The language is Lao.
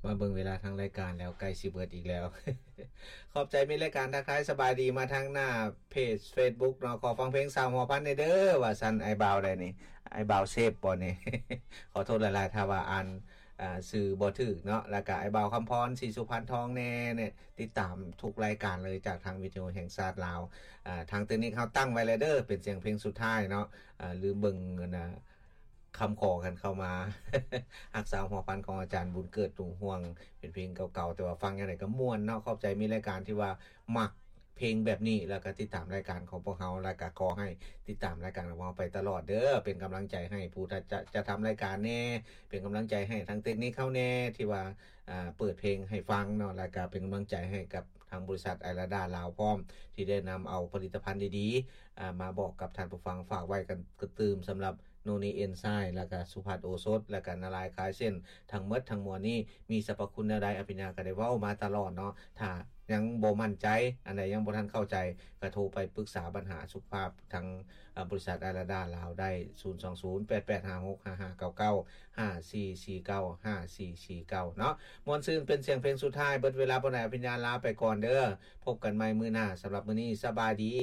ມາເບິ່ງເວລາທາງລາຍການແລ້ວ ໃກ້ຊິເບິດອີກແລ້ວ. ຂອບໃຈມິດລາຍການ ທັກທາຍສະບາຍດີມາທາງໜ້າເພຈ Facebook ເນາະ. ຂໍຟັງເພງສາວຫົວພັນແດ່ເດີ ວ່າຊັ້ນ. ອ້າຍບ່າວໃດນີ້? ອ້າຍບ່າວເຊບບໍ່ນີ້? ຂໍໂທດຫຼາຍໆ ຖ້າວ່າອ່ານ ອ່າ ຊື່ບໍ່ຖືກເນາະ. ແລ້ວກະອ້າຍບ່າວຄຳພອນ ສີສຸພັນທອງແດ່ ແນ່ ຕິດຕາມທຸກລາຍການເລີຍ ຈາກທາງວິທະຍຸແຫ່ງຊາດລາວ. ອ່າ ທາງເຕັກນິກເຮົາຕັ້ງໄວ້ແລ້ວເດີ ເປັນສຽງເພງສຸດທ້າຍເນາະ. ອ່າ ລືມເບິ່ງອັນນ່າ ຄຳຂໍກັນເຂົ້າມາ ຮັກສາຫົວພັນຂອງອາຈານບຸນເກີດ ດວງຮ່ວງ ເປັນເພງເກົ່າໆ ແຕ່ວ່າຟັງຈັ່ງໃດກໍມ່ວນເນາະ. ຂອບໃຈມິດລາຍການທີ່ວ່າມັກເພງແບບນີ້ ແລ້ວກໍຕິດຕາມລາຍການຂອງພວກເຮົາ ແລ້ວກໍຂໍໃຫ້ຕິດຕາມລາຍການຂອງເຮົາໄປຕະຫຼອດເດີ. ເປັນກຳລັງໃຈໃຫ້ຜູ້ຈະ ຈະທຳລາຍການແດ່ ເປັນກຳລັງໃຈໃຫ້ທາງເຕັກນິກເຮົາແດ່ ທີ່ວ່າ ອ່າ ເປີດເພງໃຫ້ຟັງເນາະ ແລ້ວກໍເປັນກຳລັງໃຈໃຫ້ກັບທາງບໍລິສັດໄອລາດາລາວພ້ອມ ທີ່ໄດ້ນຳເອົາຜະລິດຕະພັນດີໆ ອ່າ ມາບອກກັບທ່ານຜູ້ຟັງ. ຝາກໄວ້ກັນກະຕື່ມສຳລັບ ໂນນີເອັນໄຊ ແລ້ວກະສຸພັດໂອສົດ ແລ້ວກະນາລາຍຄາຍເສັ້ນ. ທັງໝົດທັງມວນນີ້ມີສັບພະຄຸນແນວໃດ ອະພິນຍາກໍໄດ້ເວົ້າມາຕະຫຼອດເນາະ. ຖ້າຍັງບໍ່ໝັ້ນໃຈ ອັນໃດຍັງບໍ່ທັນເຂົ້າໃຈ ກໍໂທໄປປຶກສາບັນຫາສຸຂະພາບທາງ ອາ ບໍລິສັດໄອລາດາລາວໄດ້ ສູນສອງສູນ ແປດແປດຫ້າຫົກ ຫ້າຫ້າເກົ້າເກົ້າ ຫ້າສີ່ສີ່ເກົ້າ ຫ້າສີ່ສີ່ເກົ້າ ເນາະ. ມ່ວນຊື່ນເປັນສຽງເພງສຸດທ້າຍ. ເບິດເວລາປານໃດ ອະພິນຍາລາໄປກ່ອນເດີ. ພົບກັນໃໝ່ມື້ໜ້າ. ສຳລັບມື້ນີ້ ສະບາຍດີ.